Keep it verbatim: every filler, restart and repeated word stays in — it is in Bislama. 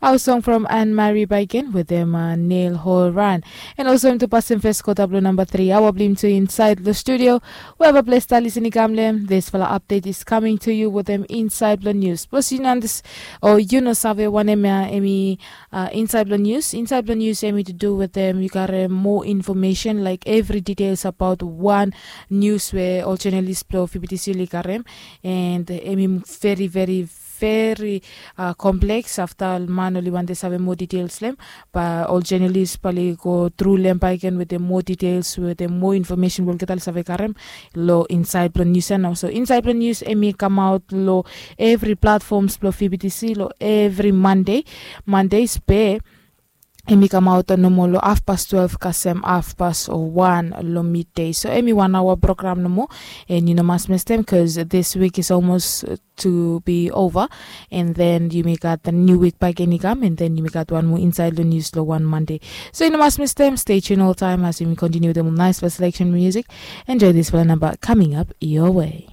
Our song from Anne Marie Baiken with them uh, Neil Horan. And also to pass them first quarter blue number three. Our blim to inside the studio. Wherever place that listening come them. This fella update is coming to you with them inside the news. Plus you know this or you know save one em emi uh, inside the news. Inside the news emi to do with them. You got uh, more information like every details about one news where all journalists blow fifty sili karem. And uh, emi very very very uh, complex afta man oli wante save moa details lem. Ba ol journalist bali go tru lem baiken with the more details with the more information we'll get ali save karem lo inside plan news and also inside plan news emi come out lo every platforms blo fbtc lo every monday mondays be emi come out nomo lo half past twelve kasem half past one lo midday so emi one hour program nomo. And you know mas mestem because this week is almost to be over. And then you may got the new week back any come and then you may got one more inside the news lo one monday. So you know mas mestem stay tuned all time as we continue with the nice selection music. Enjoy this for number coming up your way.